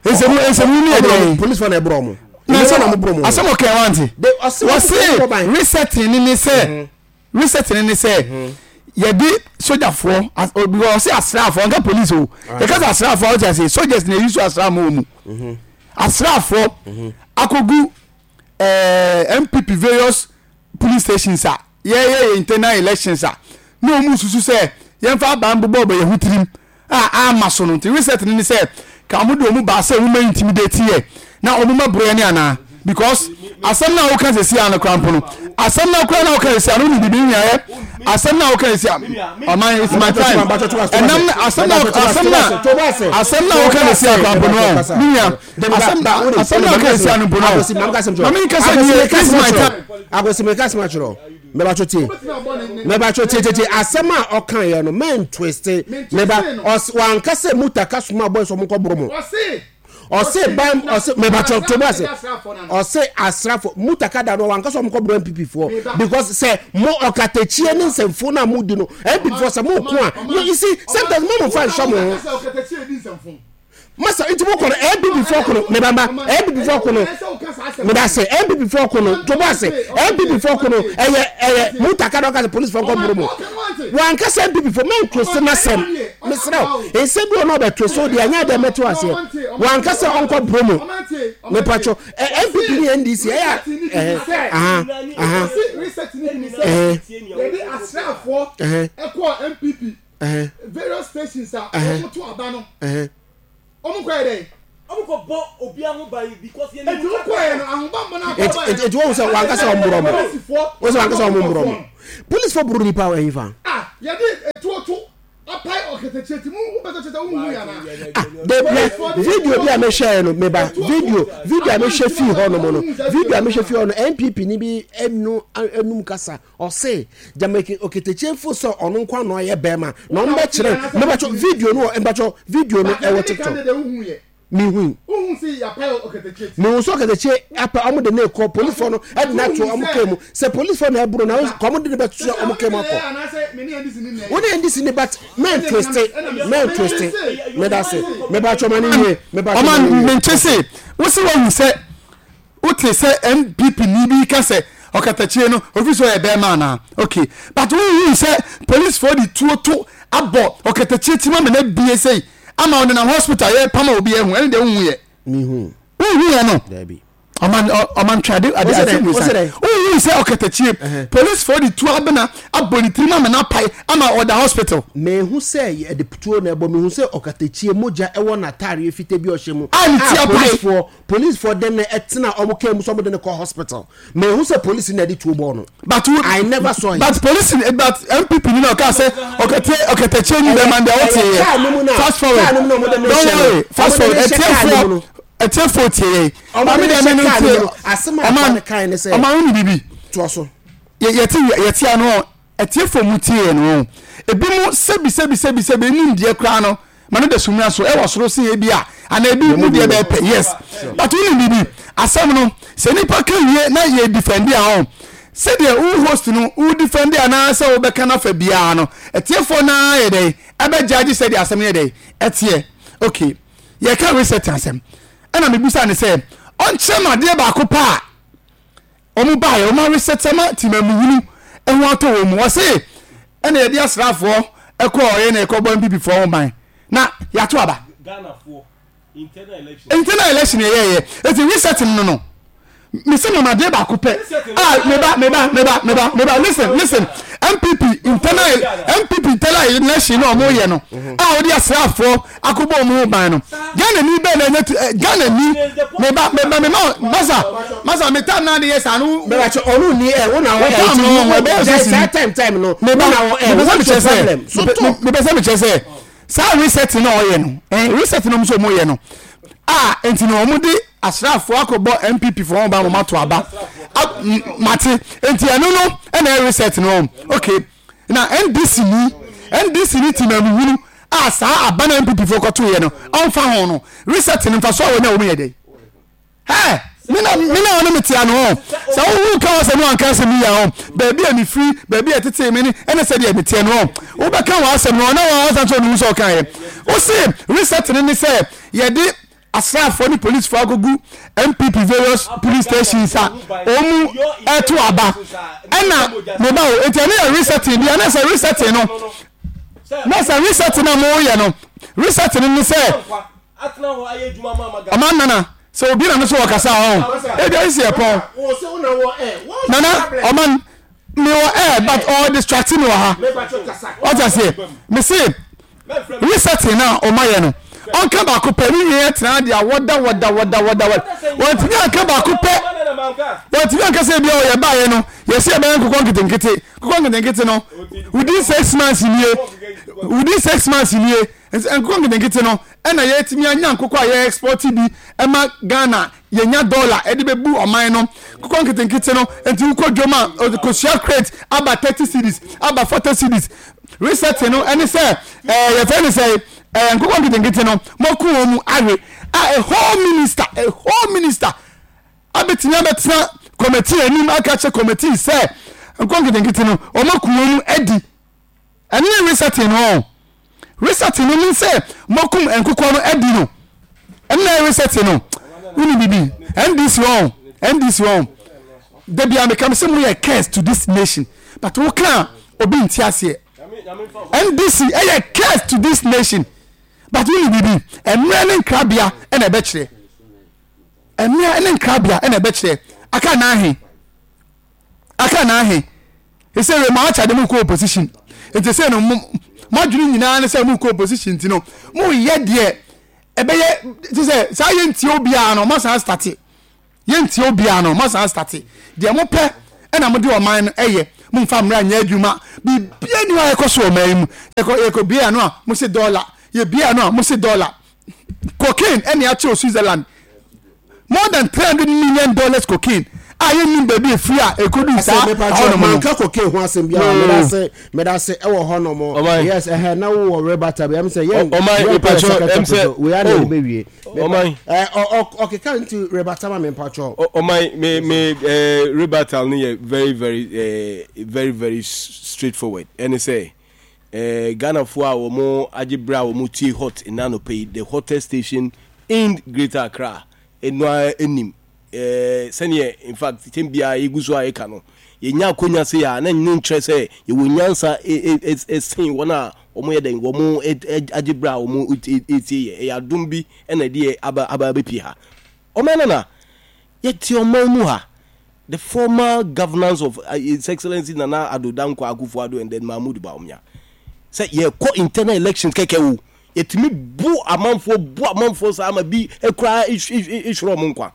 Nsɛm nsɛm hunu yɛ dɛ. Polisi fo na ɛbrɔ mo. Na asɛm ɔkɛ wante. Wɔse resetting ni ne sɛ. Reset no ne sɛ yɛde sogyafoɔ, because ɔse asraafoɔ, ɔnka police o. Yɛka sɛ asraafoɔ a wote ase, soldiers na ɛyi so asraa ma wɔ mu. Asraafoɔ akɔgu eh, NPP various police stations a yɛyɛ yɛ internal elections a na wɔn susu sɛ yɛmfa aban bobɔ bɔ yɛn ho tirim a amma so no nti reset no ne sɛ ka wɔn de wɔn baa sɛ wɔn ma intimidate yɛ na wɔn ma boro yɛ ne anaa because asɛm na woka sɛsi ano kora mpo no asɛm na kora na woka sɛsi ano ne bibi nua yɛ asɛm na woka sɛsi ɔman it's my time ɛnam asɛm na asɛm na asɛm na woka sɛsi akora mpo no ne nua asɛm asɛm na woka sɛsi ano mpo no maame nkasa nie it's my time. Akwasi meka asɛm akyerɛ wo. Mɛbatwo tie. Mɛbatwo tie tie tie. Asɛm a ɔka yɛ no mɛn twiste. Mɛba ɔs wanka sɛ mutaka soma boys ɔmo nkɔ boro mo. Ɔse ban ɔse mɛbatwo to bo ase. Ɔse asrafo mutaka da no wanka sɛ ɔmo kɔ boro NPP foɔ because sɛ mo ɔkatakyie ne nsɛmfo no a mo di no NPP foɔ sɛ mo ko a you see sometimes mo mo fa nhyɛ mo ho. Masa nti mo kɔ no NPP foɔ ko no meba mba NPP foɔ ko no meda ase NPP foɔ ko no tobo ase NPP foɔ ko no ɛyɛ ɛyɛ mutaka na ɔka sɛ police foɔ nkɔ boro mo wanka sɛ NPP foɔ mɛn twese n'asɛm mesrɛ wo nsɛm bi wɔ na ɔbɛ twese wo deɛ ɛnyɛ adeɛ mɛte aseɛ wanka sɛ ɔnkɔ boro mo mepatwɔ NPP ne NDC ɛyɛ ɛhɛ aha aha ɛhɛ ɛhɛ ɛhɛn. Various stations a wɔn to aba no. Ɛhɛn. Wɔn kɔ yɛ dɛ. Wɔn kɔ bɔ obiara ho ban because yɛn. Eti wɔn kɔ yɛ no ahobanbɔ na akɔ ba yɛ. Eti wɔn sɛ wɔn ankasa wɔn borɔ mo. Wɔn sɛ wɔn ankasa wɔn borɔ mo. Polisifoɔ boro nipa wɔ ɛyin fa. Ah yɛde etuo to apae ɔkɛtɛkyɛ ti mu wopɛ sɛ kyɛ sɛ wohu yɛ anaa. Ah de video bi a mehwɛ yɛ no meba video video a mehwɛ fii hɔ nom no video a mehwɛ fii hɔ no NPP ni bi enu enum kasa Ɔse gyama oketekyie fo sɛ ɔno nko ano ayɛ bɛrima na ɔmo bɛkyerɛ mɛbɛkyɛ video no wɔ mpakyɛ video no ɛwɔ tiktok mihui mihu sɛ ɔketekyie apɛ ɔmo de ne kɔ polisifoɔ no ɛde no ato ɔmo kaa mu sɛ polisifoɔ na ɛboro na kɔ ɔmo de ne bɛto ɔmo kaa mu akɔ wo ne ndc ne but mɛn twiste mɛn twiste mɛdase mɛbakyɛ ɔma ne wie mɛbakyɛ ɔma ne wie. Ɔma mente se wosi wahu sɛ Wote sɛ NPP ni bi ka sɛ ɔkatakyie no ofi sɛ ɔyɛ bɛɛma anaa? Ok but wonhuu sɛ police foɔ de tuo to abɔ ɔkatakyie ti mu ama no abie sei ama ɔnenam hospital yɛ pam a obi ahu ɛne deɛ wonhu yɛ? Mehui. Wonhu yɛ no? Daabi. Ɔman ɔman twe ade ade asɛm wei san. Wonhu sɛ ɔkatakyie police foɔ de tuo abena abɔ ne tirim ama no apae ama ɔda hospital. Mehu sɛ yɛde tuo na ɛbɔ mehu sɛ ɔkatakyie mogya ɛwɔ n'ataareɛ fitaa bi a ɔhyɛ mu a ne ti a apae. policefoɔ Policefoɔ de no tena ɔmo car mu sɛ ɔmo de no kɔ hospital. Manhu sɛ police na ɛde tuo bɔɔ no. But wo, I never saw it. But police but NPP ni na ɔka sɛ ɔkɛtɛ ɔkɛtɛkyɛ ni bɛma deɛ ɔte yɛ. Fast forward. Car no mu na ɔmo de no Don't hyɛ no. worry. Fast Ɔmo de forward. no hyɛ car no mu Ɛtiɛfoɔ no. ɛtiɛfoɔ tie yɛ. Ɔmo Maame de no deɛ hyɛ mɛ no car no mu tie. no. Asɛm a akwa no kae ne sɛ. Ɔman wo ni bibi. Toa so. Yɛ yɛte yɛte ano. Atiefo mu tie yɛn oo. Ebinom sɛbi sɛbi sɛbi sɛbi enim deɛ koraa no ma no da sumina so ɛwɔ soro sen ebi a anaa ebi mu deɛ bɛyɛ pɛ yes but wonim biribi asɛm no sɛ nipa ka wie na yɛ defend a ɔn sɛdeɛ wo host no wo defend anaa sɛ wobɛka no afa biara no atiefoɔ no ara yɛ dɛn ɛbɛ judge sɛdeɛ asɛm no yɛ dɛn ɛteɛ okay yɛka reset asɛm ɛna mebusa ne sɛ ɔnkyerɛ me adeɛ baako paa Wɔn baeɛ, wɔn aresɛt ama temamuhunu ho atɔ wɔn mu. Wɔse ɛna yɛde asraafoɔ ɛkɔɔ yɛ na yɛkɔbɔ NPP foɔ ho ban na yɛato aba. Internal election yɛyɛyɛ eti reset no no mese mama adeɛ baako pɛ ah meba meba meba meba meba listen listen NPP internal NPP internal election na wɔn yɛ no a wɔde asraafoɔ akɔbɔ wɔn ho ban no Ghana ni bɛɛ na ɛnyɛ tu ɛ Ghana ni meba meba mema masa masa me tam na de yɛ saa no. Meba kyɛ ɔno ni ɛ wo na wɔ ɛ ti wo ɛbɛyɛ sɛ saa time time no meba wo na wɔ ɛ mepɛ sɛ what's mekyerɛ your sɛ problem so talk. mepɛ sɛ mekyerɛ sɛ saa reset na ɔyɛ no ɛn reset na wɔn nso wɔn yɛ no a nti na wɔn de asraafoɔ akɔbɔ NPP foɔ wɔn ba wɔn ato aba mate nti ɛno no ɛna ɛyɛ reset no wɔn okay. Na NDC ni NDC ni temamuhunu a saa aba na NPP foɔ kɔtoeɛ no ɔmfa ho no reset no mfasoɔ a wɔnya wɔ mu yɛ dɛn? Hɛ! Me na me na ɔne me tea no hɔ sɛ wohu ka wɔ sɛ no anka asɛm yi a hɔ baabi a mefiri baabi a ɛtetee me ne ɛne sɛdeɛ meteɛ no hɔ wobɛka wɔ asɛm no ɔna wɔn asan sɛ ɔne hu sɛ ɔkaeɛ wo se reset no ne sɛ yɛde. asraafoɔ ne polisifoɔ akɔgu NPP various police stations a wɔn ɛto aba ɛna meba o nti ɛno yɛ resetting bi ɛna sɛ resetting no na sɛ resetting na mo yɛ no resetting no ne sɛ ɔman nana sɛ obi na no so ɔkasa ɔn ebi ayi si ɛpɔn nana ɔman mi wɔ air but ɔɔ distract mi wɔ ha ɔte aseɛ mi se. Resetting no a wɔayɛ no, ɔnka baako pɛ ne nyinaa tena ade a wɔda wɔda wɔda wɔda wɔda wɔntumi anka baako pɛ wɔntumi anka sɛ ebi a ɔyɛ baayɛ no yɛsɛ yɛbɛyɛ nkokɔ nketenkete nkokɔ nketenkete no within 6 months nie, within 6 months nie nkokɔ nketenkete no ɛna yɛtumi anya nkokɔ a yɛ export bi ɛma Ghana yɛnya dollar ɛde bɛbu ɔman no. Nkokɔ nketenkete no nti wokɔ dwom a kosua crate aba 30 cedis, aba 40 cedis. Resetting no ɛne sɛ yɛfrɛ no sɛ nkokɔ nketenkete no mɔko wɔn mu awe a a whole minister abɛtumi abɛtena committee anim aka kyerɛ committee sɛ nkokɔ nketenkete no wɔn ako wɔn mu adi. Ɛne ne resetting no. Resetting no mean sɛ mɔkum nkokɔ no adi no. Ɛne na resetting no. Woni bibi NDC wɔn NDC wɔn dabi a meka sɛ mo yɛ curse to this nation, but wo ka obi nti aseɛ. NDC ɛyɛ curse to this nation, but woni bibi mmerɛ ne nkrabea ɛna ɛbɛkyerɛ, mmerɛ ne nkrabea ɛna ɛbɛkyerɛ. Aka n'ahe, aka n'ahe ɛsɛ wei mo akyade mo kɔ opposition nti sɛ no mo adwene nyinaa ne sɛ mo kɔ opposition nti no mo yɛ deɛ ɛbɛyɛ te sɛ saa yɛ ntie obiara no mo san start yɛ ntie obiara no mo san start deɛ mo pɛ ɛna mo de ɔman no ɛyɛ. Mo nfa mmerɛ nyɛ adwuma biribiara ni hɔ a yɛkɔ so ɔman yi mu. Yɛkɔ bia no a mo se dɔla yɛ bia no a mo se dɔla cocaine ɛna akyɛw Switzerland more than $300 million cocaine a yɛnnim baabi efiri a ekodu saa ɛhɔnom no. Manka cocaine ho asɛm biara. Medase, medase ɛwɔ hɔnom. Yes, ɛhɛ na wowɔ rebata bi ɛm sɛ yɛn yɛn kɔ second topic so wei ana ɛde bɛwie. Ɔman ɔkeka nti rebata ma me mpatsɔ. Ɔman me rebata no yɛ very very very very straightforward. Ɛne sɛ Ghanafoɔ a wɔn agye berɛ a wɔn tie Hot nna anɔpa yi, the hottest station in Greater Accra, ɛno ara anim sɛdeɛ in fact kyɛn biara yɛgu so a yɛka no, yɛnya akonya se a na ɛno nkyerɛ sɛ yɛwɔ nyansa sen wɔn a wɔn yɛ dɛn wɔn agye berɛ a wɔn tie yɛ. Ɛyɛ adom bi ɛna ɛde yɛ aba abɛpie ha. Ɔman nana yɛte ɔman mu ha, the former governance of His Excellency Nana Addo Dankwa Akufo-Addo and then Mahmoud Bawumia, sɛ yɛkɔ internal elections kɛkɛ o, yɛtumi bu amanfoɔ bu amanfoɔ saa ma bi koraa ehwere wɔn nkwa.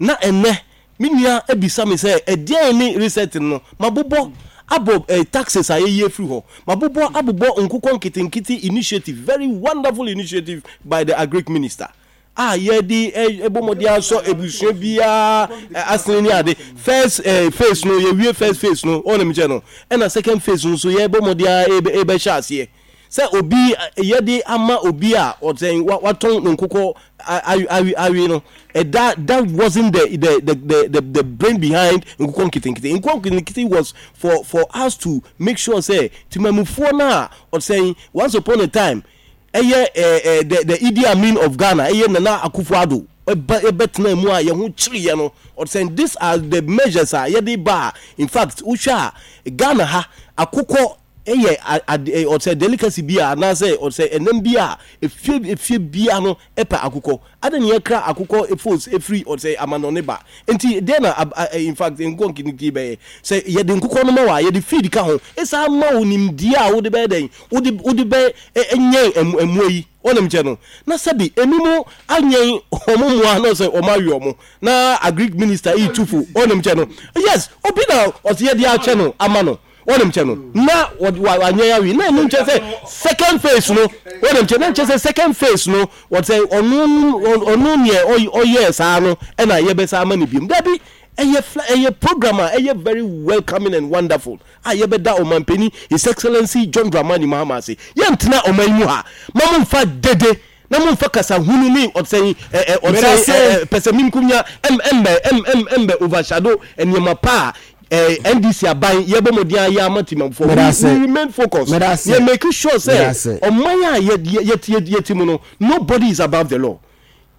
Na ɛnɛ me nua ebisa me sɛ ɛdeɛn ne reset no. Mabobɔ abɔ taxes a yɛyi afiri hɔ, mabobɔ abobɔ nkokɔ nketenkete initiative, very wonderful initiative by the agric minister a yɛde ɛbɔ mmɔden asɔ ebusua biara asene ne ade. First phase no yɛwie, first phase no ɔna mi kyɛ no, ɛna second phase no nso yɛbɔ mmɔden a ɛbɛhyɛ aseɛ sɛ obi yɛde ama obi a ɔsɛn watɔn ne nkokɔ awe awe no. That wasn't the brain behind nkokɔ nketenkete. Nkokɔ nketenkete was for us to make sure sɛ timamufoɔ no a ɔsɛn once upon a time ɛyɛ ɛɛ ɛɛ the Idi Amin of Ghana, ɛyɛ Nana Akufo-Addo, ɛba ɛbɛtena mu a yɛn ho kyerɛ no. Ɔsɛn these are the measures a yɛde ba a in fact wohwɛ a Ghana ha akokɔ ɛyɛ ade ɔsɛ delicacy bi a anaasɛ ɔsɛ ɛnam bi a efie efie bia no ɛpɛ akokɔ ade ne yɛkra akokɔ efos efiri ɔsɛ amanɔne ba. Nti deɛ na in fact nkokɔ nketenkete bɛyɛ sɛ yɛde nkokɔ no ma wa yɛde feed ka ho ɛsan ma wo nimdeɛ a wode bɛyɛ dɛn wode bɛ ɛnyɛn ɛmoa yi ɔnam kyɛ no na sɛbi emi mu anyɛn ɔmo mmoa na ɔsɛ ɔmo awe ɔmo na agric minister yi tufo ɔnam kyɛ no. Yes, obi na ɔsɛ yɛde akyɛ no ama no wɔnim kyɛ no na wanyɛ awie na ɛno nkyɛ sɛ second phase no wɔnim kyɛ na nkyɛ sɛ second phase no wɔsɛ ɔno neɛ ɔyɛɛ saa no ɛna yɛbɛsa ama no biom. Dabi, ɛyɛ program a ɛyɛ very welcoming and wonderful a yɛbɛda ɔmampanin His Excellency John Dramani Mahama ase. Yɛntena ɔman yi mu ha ma momfa dede na momfa kasa hunu ne ɔsɛn ɛ ɔsɛn ɛ pɛsɛminkunya ɛmbɛ overshadow nneɛma pa a NDC aban yɛbɔ mmɔden ayɛ ama timanfoɔ. We remain focused, yɛ make sure sɛ ɔman a yɛte mu no, nobody is above the law.